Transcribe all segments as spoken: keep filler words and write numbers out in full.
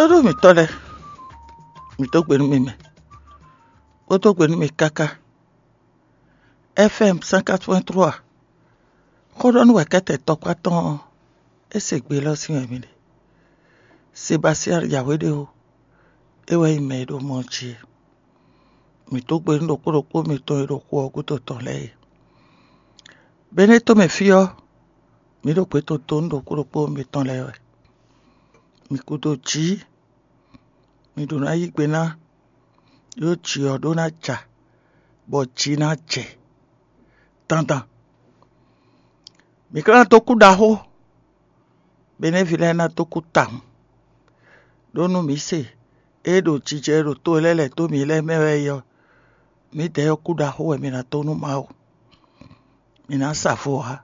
Tónú mǐtɔn lɛ́ɛ, mǐ dó gbe nú mi mɛ, bó dó gbe nú mi káká. F M cent quatre-vingt-trois, xó ɖɔ nú wɛ̌kɛ́tɛn tɔkpá tɔn ɔ́, é se gbe élɔ́ sín wɛ mi ɖe. Sebastian Yawéɖéwo, é wɛ nyí mɛ e ɖo mɔ jí é. Mǐ dó gbe nú ɖokpó ɖokpó mitɔn e ɖo xu ɔ́ gúdo tɔn lɛ́ɛ é. Benɛ́ tɔn mɛ fí ɔ́, mǐ ɖo gbě tɔn dó nú ɖokpó ɖokpó mitɔn lɛ́ɛ wɛ. Mǐ kúdó jǐ, mǐ ɖó ná yí gbe ná, ɖó jǐ ɔ́ ɖó ná ja, bɔ jǐ ná jɛ dandan. Mǐ ka ná dó kú ɖaxó, Benɛ́ví lɛ́ɛ ná dó kú tawun. Ɖó nú mǐ se, ée ɖo jijɛ e ɖo to e lɛ́ɛ lɛ̌ dó mǐ lɛ́ɛ mɛ wɛ é ɔ́, mǐdɛɛ ɔ́ kú ɖaxó wɛ mǐ ná dó nú Mawu. Mǐ ná sa vo ǎ;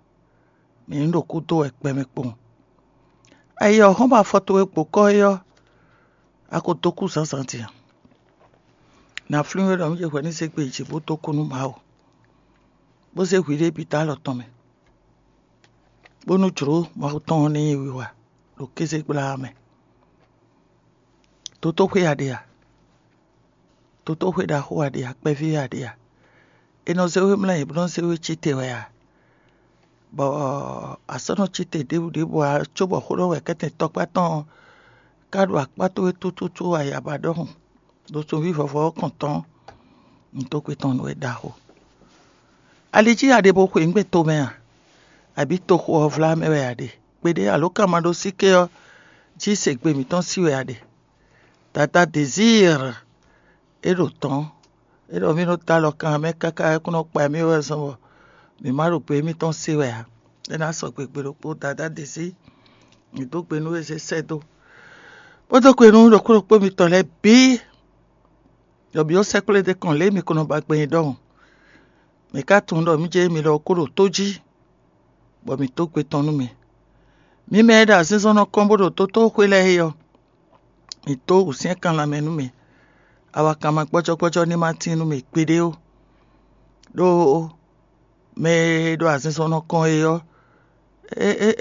mǐ ní ɖo kú dó wɛ gbɛmɛ kpowun. Ayi ɔ́ hɔn bɔ afɔ towe gbo kɔ́ é ɔ́, a ko dó kú zǎnzǎn din a? Nǎ flín we ɖɔ mǐ ce hwɛ ní zé gbe yi jǐ bó dó kú nú Mawu, bó zé hwiɖée bǐ dó alɔ tɔn mɛ, bónú jlǒ Mawu tɔn ɔ́ ní nyí wiwa ɖo kéze gbla ɔ́ mɛ. Dotóxwé a ɖe a? Dotóxwé ɖaxó a ɖe a? Kpɛví a ɖe a? È nɔ zé we mlɔ́ ayǐ bó nɔ́ zé we cí te wɛ a? Bɔ a sɔ́ nɔ cí te ɖěbǔ ɖěbǔ ǎ, cóbɔ xó ɖɔ wɛ kɛ́tɛn tɔkpá tɔn ɔ́ ka ɖo akpá towe tútútú ayaba ɖɔhun ɖo sunví vɔvɔ ɔ́ kɔn tɔn. Un dó kwe tɔn nú we ɖaxó. Ali jí a ɖe bo xweyǐgbe tomɛ a? Abǐ toxo ɔ́ vlá mɛ wɛ a ɖe? Kpeɖé alǒkanmaɖósíké ɔ́ jí se gbe mǐtɔn sí wɛ a ɖe? Dada Dezíir, é ɖo tɔ̌n, é ɖɔ mì nɔ dó alɔ kan mɛ káká é kún nɔ kpa mì wɛ zɔn bɔ mǐ ma ɖo gbe émítɔn se wɛ ǎ. É ná sɔgbe gbe ɖokpó. Dadá Dezí, mǐ dó gbe nú we zé sɛ́ dó, bó dó gbe nú ɖokpó ɖokpó mitɔn lɛ́ɛ bǐ, ɖɔ mǐ ó sɛkplé ɖ'é kɔn lě e mǐ ko nɔ ba gbɛn é ɖɔhun. Mǐ ka tunwun ɖɔ mǐ jɛ mi lɔ ko ɖo tó jí, bɔ mǐ dó gbe tɔn nú mi. Mi mɛ e ɖo azinzɔnnɔ kɔn bó ɖo dotóxwé lɛ́ɛ é ɔ́, mǐ dó wǔsyɛ́nkan lanmɛ nú mi. Awakanma gbɔ́jɔ́gbɔ́jɔ́ ní ma tíin nú mi gbeɖé ó. Ɖó mɛ e ɖo azinzɔnnɔ kɔn é ɔ́,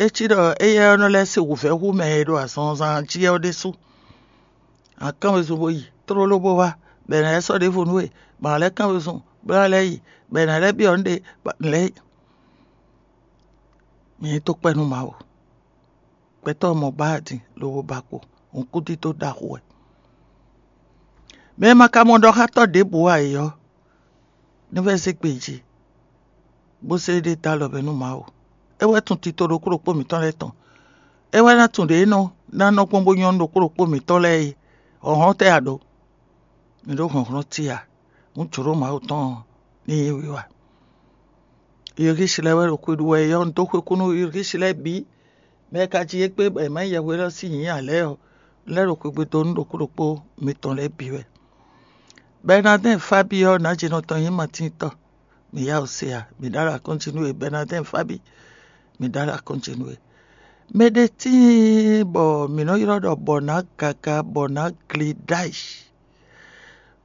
é cí ɖɔ éyɛ́ ɔ́ nɔ lɛ́ se wǔvɛ́ hú mɛ e ɖo azɔnzan jí ɔ́ ɖésú. A kán wezun bó yi tlóló bó wá, bɔ è nǎ lɛ́ sɔ́ ɖěvo nú we, bɔ a nǎ lɛ́ kán wezun, bó ná lɛ́ yi, bɔ è nǎ lɛ́ byɔ́ nǔɖé, bɔ a nǎ lɛ́ yi. Mi nyí tó kpɛ́ nú Mawu. Gbɛtɔ́ mɔ bá din lobo ba kpo, hǔnkúdídó ɖaxó wɛ. Mɛ e ma ka mɔ ɖɔ xá tɔ́ ɖěbǔ ǎ é ɔ́, ní vɛ́ zé gbe jí, bó zé ɖé dó alɔ mɛ nú Mawu. É wɛ tunwun tito ɖokpó ɖokpó mǐtɔn lɛ́ɛ tɔn. É wɛ ná tunwun ɖě é nɔ ná nɔ gbɔn bó nyɔ́ nú ɖokpó ɖokpó mǐtɔn lɛ́ɛ é. Hlɔ̌nhlɔ́n tɛ́ a ɖǒ? Mi ɖó hlɔ̌nhlɔ́n cí a? Hǔn jlǒ Mawu tɔn ɔ́ ní nyí wiwa. Yirgísi lɛ́ɛ wɛ ɖo xwe ɖu wɛ é ɔ́, un dó xwe kú nú Yirgísi lɛ́ɛ bǐ. Mɛ e ka jí égbé bɔ è mǎ nyí yɛhweɖɔ sín nyǐ ǎ lɛ́ɛ ɔ́, un lɛ́ ɖo xwegbe dó nú ɖokpó ɖokpó mitɔn lɛ́ɛ bǐ wɛ. Bɛnadɛ́n Fábi ɔ́, nǎjinɔ tɔn nyí Matín tɔn. Mǐ yá wǔ se a? Mǐ ɖó alɔ akɔ́njí nú we, Bɛnadɛ́n Fábi, mǐ ɖó alɔ akɔ́njí nú we. Mɛ ɖé tíin bɔ mǐ nɔ ylɔ́ ɖɔ bɔ nǎ gaga bɔ nǎ gle ɖ'ayǐ.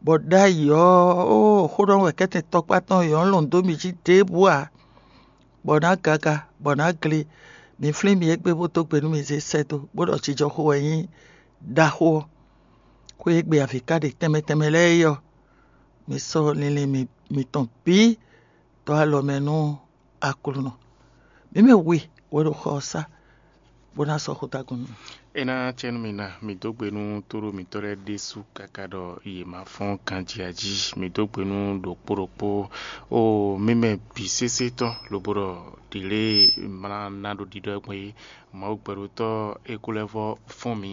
Bɔ ɖ'ayǐ ɔ́, ó xó ɖɔ wɛ kɛ́tɛn tɔkpá tɔn yɔ̌ lɔn dó mì jí ɖěbǔ ǎ, bɔ nǎ gaga, bɔ nǎ gle. Mi flín mi égbé bó dó gbe nú mi zé sɛ́ dó, bó ɖɔ jijɔxó wɛ nyí ɖaxó ɔ́. Xwé e gbe avǐ ka ɖe tɛnmɛ tɛnmɛ lɛ́ɛ é ɔ́, mi sɔ́ linlin mitɔn bǐ dó alɔ mɛ nú Aklúnɔ. Mǐ mɛ we wɛ ɖo xɔ ɔ́ sá, bó ná sɔ́ xó dó agun nú mì. É ná cɛ nú mi ná, mi dó gbe nú tóɖó mǐtɔn lɛ́ɛ ɖésú káká ɖɔ yě ma fɔ́n ganjí jí. Mi dó gbe nú ɖokpó ɖokpó. O mi mɛ bǐ sésé tɔn, lobo ɖɔ ɖǐlée mlá ná ɖo ɖiɖɔ gbɔn é. Mawu gbɛɖotɔ́ é kú lɛ́ vɔ́ fɔ́n mǐ.